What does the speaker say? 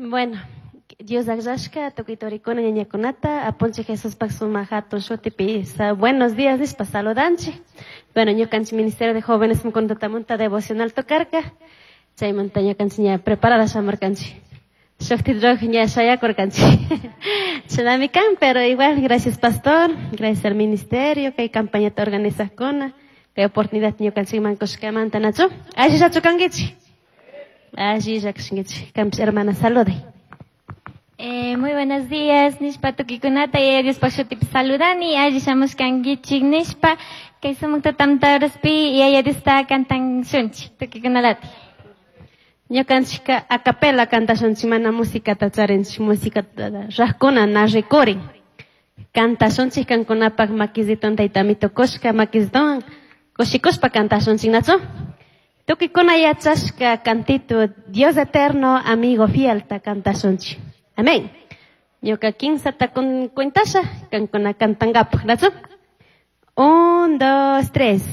Bueno, Dios akllashka tukuy turikuna ñañakunata apunchik Jesuspaj sumak hatun shutipi buenos días nishpa saludanchik. Bueno, ñukanchik Ministerio de Jóvenes mkuntatamanta devocional tocarka. Chaymanta ñukanchik ña preparada shamurkanchik. Shukti ña shayakurkanchik. Shinami kan, pero igual gracias, pastor, gracias al ministerio kay campañata organizajkuna, kay oportunidad ñukanchikman kushkamanta, nachu? Allillachu kankichik? Allilla kashankichik. Kanpish, hermana, saluday. Muy buenos días, nishpa tukikunata Yaya Diospaj shutipi saludani, alli shamushkankichik nishpa, kay sumak tutamtaraspi Yaya Diosta cantanshunchik tukikunalati. Ñukanchikka a capella cantashunchik, mana musicata charinchik, musicata rajkuna na rikurin. Cantashunchik kankunapak makisiton taytami tukushka makisiton kushikushpa cantashunchik, nachu? Tukuykuna yachashka cantito "Dios eterno, amigo fiel" ta cantashunchik. Amén. Ñuka kinsata cuentasha kankuna cantangapak, nachu? Un, dos, tres.